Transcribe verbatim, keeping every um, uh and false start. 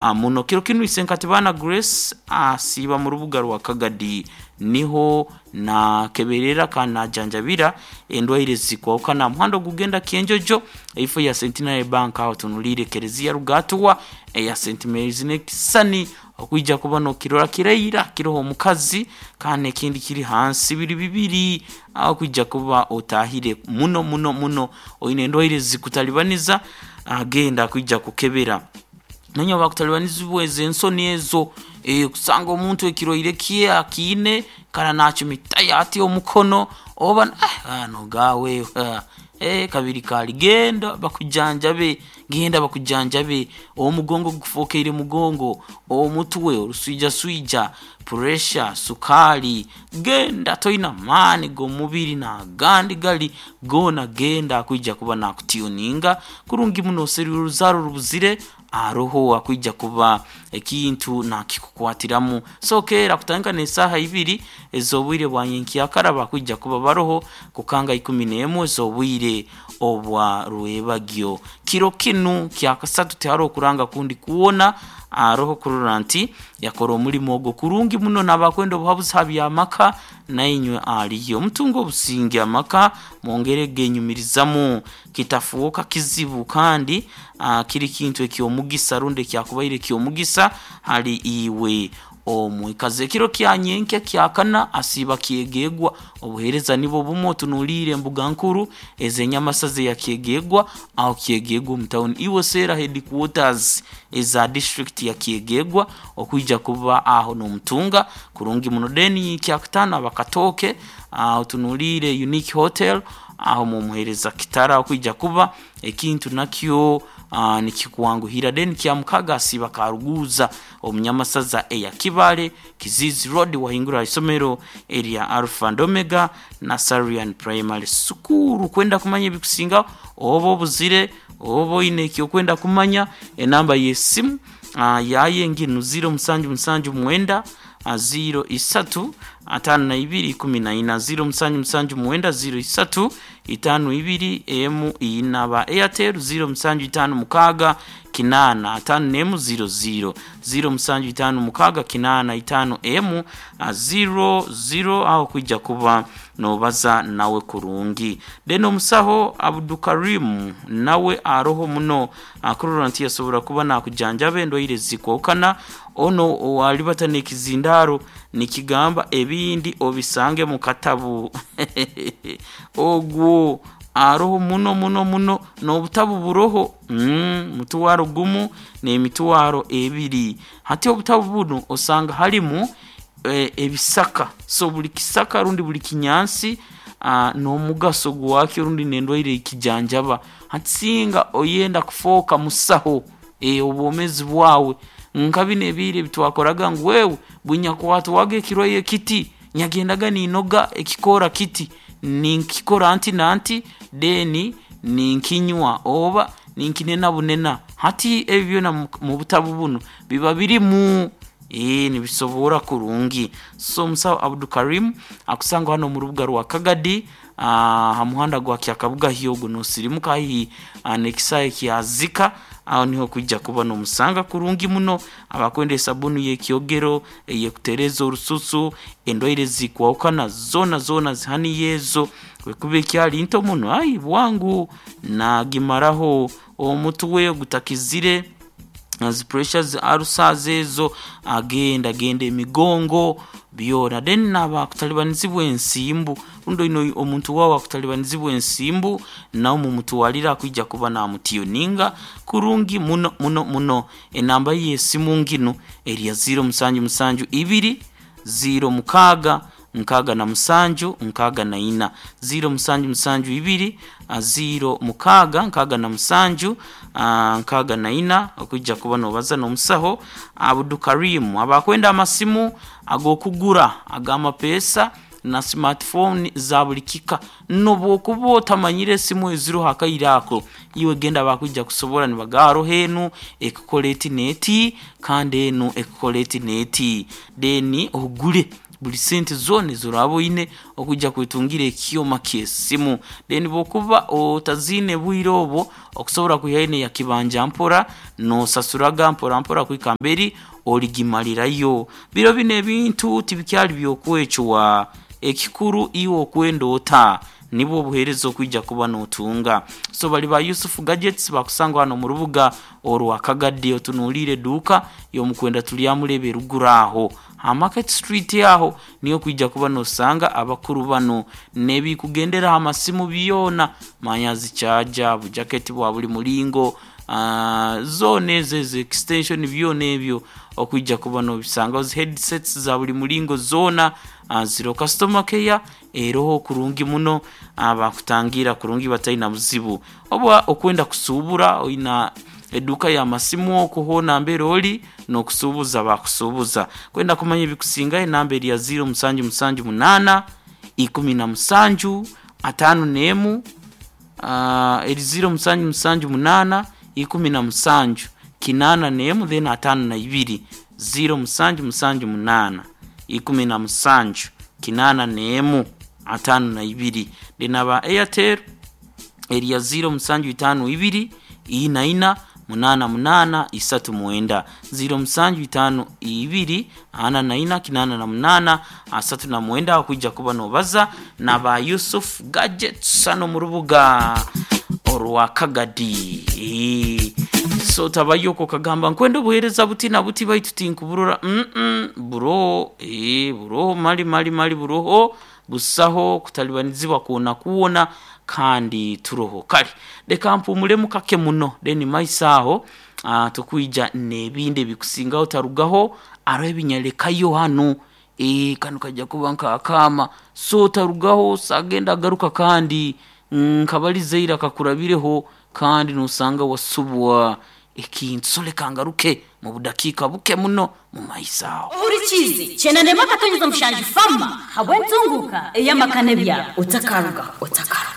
Muno kiro kinu Isenkatibana Grace asiiba mu rubuga rwa Kagadi, niho nakeberera kandi najanjabira endwaire zikwahukana aha muhanda ogugenda Kyenjojo, eifo ya Centenary Bank aho otunuliire Ekereziya Rugatuwa eya Saint Mary's n'ekisisani okwija kuba nokirora kiraira kiroho omukazi kandi ekindi kiri hansi biri bibiri aho kwija kuba otahire muno muno muno oine endwaire zikutalibaniza agenda kwija kukebera. Nonya bakutalibanizibwa ezo ensoni ezo, eh, kusanga omuntu ekirwaire kye akiine kara nachumitayo ati omukono oba ah, nogawe eh, kabiri kali genda bakujanjabe, genda bakujanjabe, omugongo gukufokeire mugongo, omutwe oruswijaswija, puresha, sukali, genda toina maani g'omubiri n'agandi gali goona genda akwija kuba nakutuninga kurungi muno oserire oruzaaro rubuzire aroho akwija kuba ekintu nakikukwatiramu. So keera kutandika n'esaaha ibiri ez'obwire bwa nyenkyakara bakwija kuba baroho kukanga ikumi n'emwe ez'obwire obwa rwebagyo. Kiro kinu kyakasatu tiharoho kuranga kundi kwona, aroho kurora nti yakora omulimo ogwo kurungi muno n'abakwenda obuhabuzi ha by'amaka nainywe aliyo. Mutunge obusinge amaka mwongere genyumirizamu kitafuuka kizibu kandi uh, kiri kintu eky'omugisa rundi ekyakubaire eky'omugisa hali iwe omwikazi. Ekiro kya nyenkya kyakana asiiba kyegegwa, obuheereza nibwo bumwe otunuliire embuga nkuru ez'enyamasaza eya Kyegegwa aho Kyegegwa omu tawuni. Iwe seera headquarters eza district ya Kyegegwa okwija kuba aho n'omutunga kurungi muno. Then kyakutaano abakatooke uh, otunuliire Unique Hotel aho mumuheereza kitara okwija kuba ekintu nakyo uh, nikikwanguhira. Then kyamukaga asiiba Karuguza omunyamasaza eya Kibale Kizizi Road wahingura isomero erya Alpha and Omega Nasarian Primary School. Kwenda kumanya ebikusingaho oba obuzire oba oine ekyokwenda kumanya, enamba y'esimu uh, yaye nginu ziro musanju musanju mwenda ziro isatu atano na ibiri ikumi na ina, ziro musanju musanju mwenda ziro isatu itano ibiri emu ina. Ba Airtel ziro musanju itano mukaga kinana atano nemu ziro ziro, ziro musanju itano mukaga kinana itano emu ziro ziro, aho kwija kuba nobaza nawe kurungi. Then omusaho Abdukarimu nawe aroho muno akurora nti yasobora kuba nakujanjaba endwaire zikwahukana. Ono alibata n'ekizindaro nikigamba ebindi obisange mu katabu ogwo aroho muno muno muno n'obutabu buroho mm, mutwaro gumu n'emitwaro ebiri. Hati obutabu buno osanga halimu e, ebisaka, so buli kisaka rundi buli kinyansi uh, n'omugaso gwakyo rundi n'endwaire ekijanjaba. Hati singa oyenda kufooka musaho e, obwomezi bwawe nka bino ebiire ebitwakoraga ngu wewe bwinyakwatwaga ekirwaire kiti nyagendaga ninoga ekikoora kiti ninkikora nti nanti then ninkinywa oba ninkinena bunena. Hati ebyo byona mu butabu buno biba birimu ee nibisobora kurungi. So omusaho Abdukarimu akusanga hano mu rubuga rwa Kagadi aha muhanda gwa Kyakabuga Hyogo nosirimuka haihi n'ekisaayi kya Zika, aho niho kwija kuba nomusanga kurungi muno. Abakwenda esabuni y'ekyogero eyekutereza orususu, endwaire zikwahukana zoona zoona zihaniyo ezo, bwekuba ekyali nto muno ai bwangu nagimaraho omutwe ogutakizire zi pressure zi ulcers ezo agenda genda emigongo byona. Then nabakutalibanizibwa ensimbu rundi oine omuntu waawe akutalibanizibwa ensimbu nawe mumutwalire akwija kuba namutuninga kurungi muno muno muno. Enamba ye y'esimu nginu erya ziro musanju musanju ibiri ziro mukaaga nkaaga na musanju nkaaga na ina, ziro musanju musanju ibiri ziro mukaaga nkaaga na musanju nkaaga na ina okwija kuba nobaza n'omusaho Abdukarimu. Abakwenda amasimu ag'okugura ag'amapeesa na smartphone za buli kika, nobwokuba otamanyire esimu eziroho akaire ako, iwe genda bakwija kusobora nibagamba haroho enu ekukora eti n'eti kandi enu ekukora eti n'eti, then ogure. Buli sente zoona ezoraba oine okwijja kwetungira ekyoma ky'esimu. Then bwokuba otaziine bwire obwo, okusobola kwihayo neya kibanja mpora, nosasuraga mpora mpora kuhika mberi origimalirayo. Biro binu ebintu tibikyali byokwecwa, ekikuru iwe okwenda ota nibwo obuheereza okwija kuba notunga. So bali ba Yusufu Gadgets bakusangwa hano mu rubuga orwa Kagadi, otunuulire eduuka y'omukwenda tulyamuleba eruguru aho ha Market Street, aho niyo kwija kuba nosanga abakuru bano nebikugendera ha masimu byona, manya zichaja, bujaketi bwa buli mulingo, uh, zona ezo ezo extension byona ebyo okwijja kuba nobisanga, zi headsets za buli mulingo zona, uh, ziro customer care eroho kurungi muno, uh, bakutangira kurungi bataina buzibu. Oba okwenda kusuubura oina eduka ya masimu okwo hoona mbere ori nokusuubuza bakusuubuza. Kwenda kumanya ebikusingayo, enamba eri ya ziro musanju musanju munaana ikumi na musanju ataano n'emu, uh, eri ziro musanju musanju munaana ikumi na musanju kinaana n'emu then ataano na ibiri. Ziro musanju musanju munaana ikumi na musanju kinaana n'emu ataano na ibiri. Then aba Airtel eri ya ziro musanju itaano ibiri ina ina munaana munaana isatu mwenda. Ziro musanju itaano ibiri ana na ina kinaana na munaana asatu na mwenda, aho kuba nobaza na ba Yusuf Gadgets hano mu rubuga orwa Kagadi. Ee, so tabayoko kagamba nkwenda obuheereza buti na buti baitu tinkuburora. mm -mm, buroho ee, buroho mali mali mali buroho busaho kutalibanizibwa kwona kwona kandi turoho. Kale leka mpumulemu kake muno, then maiso aho uh, tukwija n'ebindi ebikusingaho. Tarugaho, aroho ebinyalekayo hano. E, kano kajja kuba nkakama, so tarugaho sagenda agaruka kandi nkabalizeira kakurabireho kandi nosanga wasubwa ekintu. So leka ngaruke mu budakiika buke muno mu maiso aho. Ohurikizi chenanema akatonyeza mushanju fama habwentunguka eyamakane byabo. Otakaruga otakaruga.